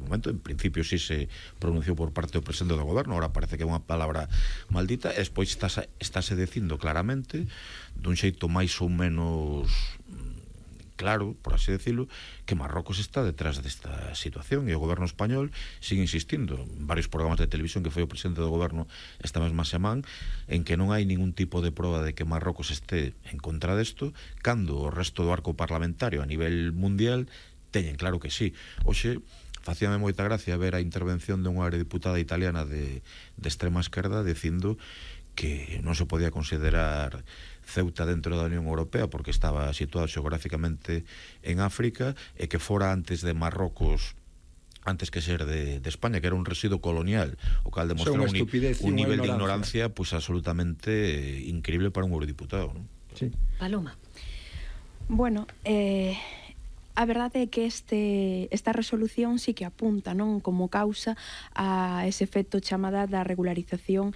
momento, en principio sí se pronunciou por parte do presidente do goberno, ahora parece que é unha palabra maldita, e despois estáse dicindo claramente, dun xeito máis ou menos claro, por así decirlo, que Marrocos está detrás desta situación, e o goberno español sigue insistindo en varios programas de televisión que foi o presidente do goberno esta mesma semana, en que non hai ningún tipo de proba de que Marrocos esté en contra desto, cando o resto do arco parlamentario a nivel mundial teñen claro que sí. Hoxe facíame moita gracia ver a intervención dunha eurodiputada italiana de extrema esquerda dicindo que non se podía considerar Ceuta dentro da Unión Europea porque estaba situado xeográficamente en África, e que fora antes de Marrocos, antes que ser de España, que era un residuo colonial, o cal demostra un nivel de ignorancia pues absolutamente increíble para un eurodiputado, ¿no? Sí. Paloma. Bueno, a verdade é que esta resolución sí que apunta, non, como causa a ese efecto chamada da regularización,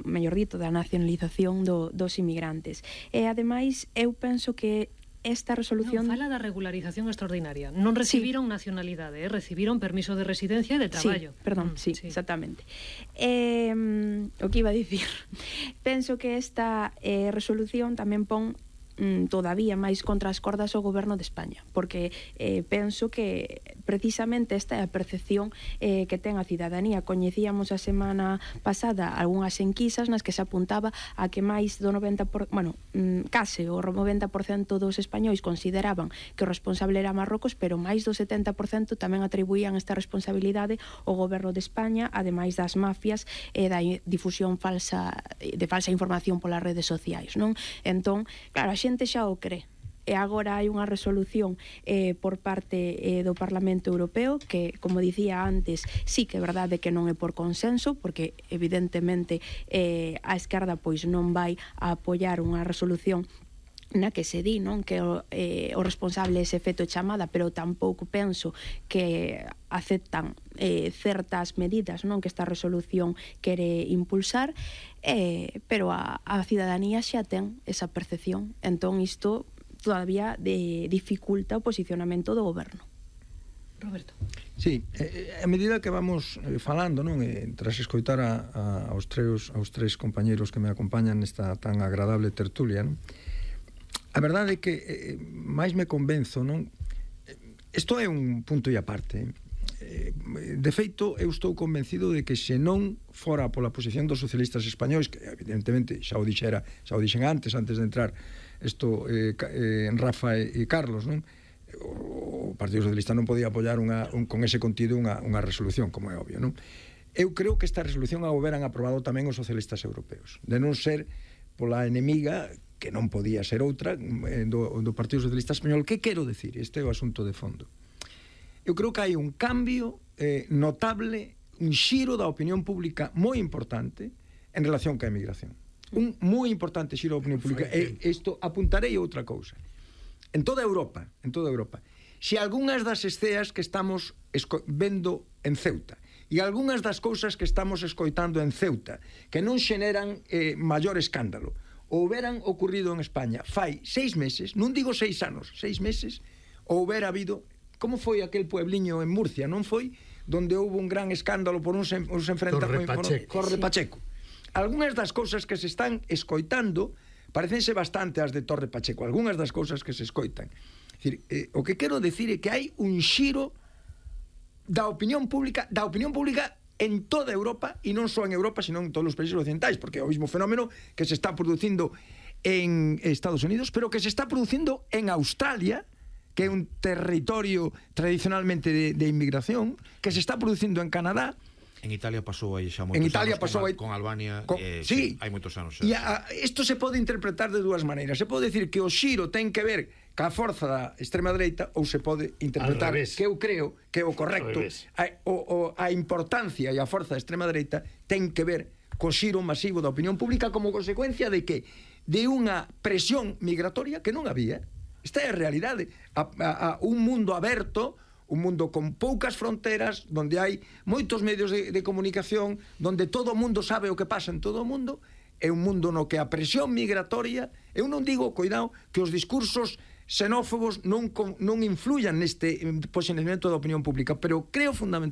mellor dito, da nacionalización dos inmigrantes. E ademais eu penso que esta resolución... Non, fala da regularización extraordinaria. Non recibiron nacionalidade, recibiron permiso de residencia e de traballo. Sí, perdón, sí, exactamente. O que iba a dicir, penso que esta resolución tamén pon todavía máis contra as cordas o goberno de España, porque penso que precisamente esta é a percepción que ten a cidadanía. Coñecíamos a semana pasada algunhas enquisas nas que se apuntaba a que máis do 90%, case o 90% dos españois consideraban que o responsable era Marrocos, pero máis do 70% tamén atribuían esta responsabilidade ao goberno de España, ademais das mafias e da difusión de falsa información polas redes sociais, non? Entón, claro, a xente xa o cree. E agora hai unha resolución por parte do Parlamento Europeo que, como dicía antes, sí que é verdade que non é por consenso, porque evidentemente a esquerda pois non vai a apoiar unha resolución na que se di, non, que o responsable é ese efecto chamada, pero tampouco penso que aceptan certas medidas, non, que esta resolución quere impulsar, pero a cidadanía xa ten esa percepción. Entón isto todavía dificulta o posicionamento do goberno. Roberto. Sí, a medida que vamos falando, non, tras escoitar aos tres compañeiros que me acompañan nesta tan agradable tertulia, non, a verdade é que máis me convenzo, non? Isto é un punto e aparte. De feito, eu estou convencido de que se non fora pola posición dos socialistas españois, que evidentemente xa o dixen antes de entrar isto Rafa e Carlos, non? O Partido Socialista non podía apoiar con ese contido unha resolución, como é obvio, non? Eu creo que esta resolución a houberan aprobado tamén os socialistas europeos, de non ser pola enemiga, que non podía ser outra, do Partido Socialista Español. Que quero decir? Este é o asunto de fondo. Eu creo que hai un cambio notable, un xiro da opinión pública moi importante en relación ca emigración. Un moi importante xiro da opinión pública. E isto apuntarei outra cousa. En toda Europa, se algunhas das esceas que estamos vendo en Ceuta e algunhas das cousas que estamos escoitando en Ceuta que non xeneran maior escándalo houberan ocurrido en España fai 6 meses, non digo 6 anos, 6 meses, houbera habido, como foi aquel puebliño en Murcia, non foi? Donde houve un gran escándalo por uns enfrentamentos Torre Pacheco. Algunhas das cousas que se están escoitando parecense bastante as de Torre Pacheco, algunhas das cousas que se escoitan. É dicir, o que quero decir é que hai un xiro da opinión pública en toda Europa, e non só en Europa, sino en todos os países occidentais, porque é o mesmo fenómeno que se está producindo en Estados Unidos, pero que se está producindo en Australia, que é un territorio tradicionalmente de inmigración, que se está producindo en Canadá. En Italia pasou aí xa moitos anos con Albania, sí, hai moitos anos. E isto se pode interpretar de dúas maneiras. Se pode decir que o xiro ten que ver ca forza da extrema dereita, ou se pode interpretar que eu creo que é o correcto, a importancia e a forza da extrema dereita ten que ver co xiro masivo da opinión pública como consecuencia de que de unha presión migratoria que non había. Esta é a realidade. A un mundo aberto, un mundo con poucas fronteras, donde hai moitos medios de comunicación, donde todo o mundo sabe o que pasa en todo o mundo, é un mundo no que a presión migratoria, eu non digo, cuidado, que os discursos xenófobos non influyan neste posicionamento da opinión pública, pero creo fundamentalmente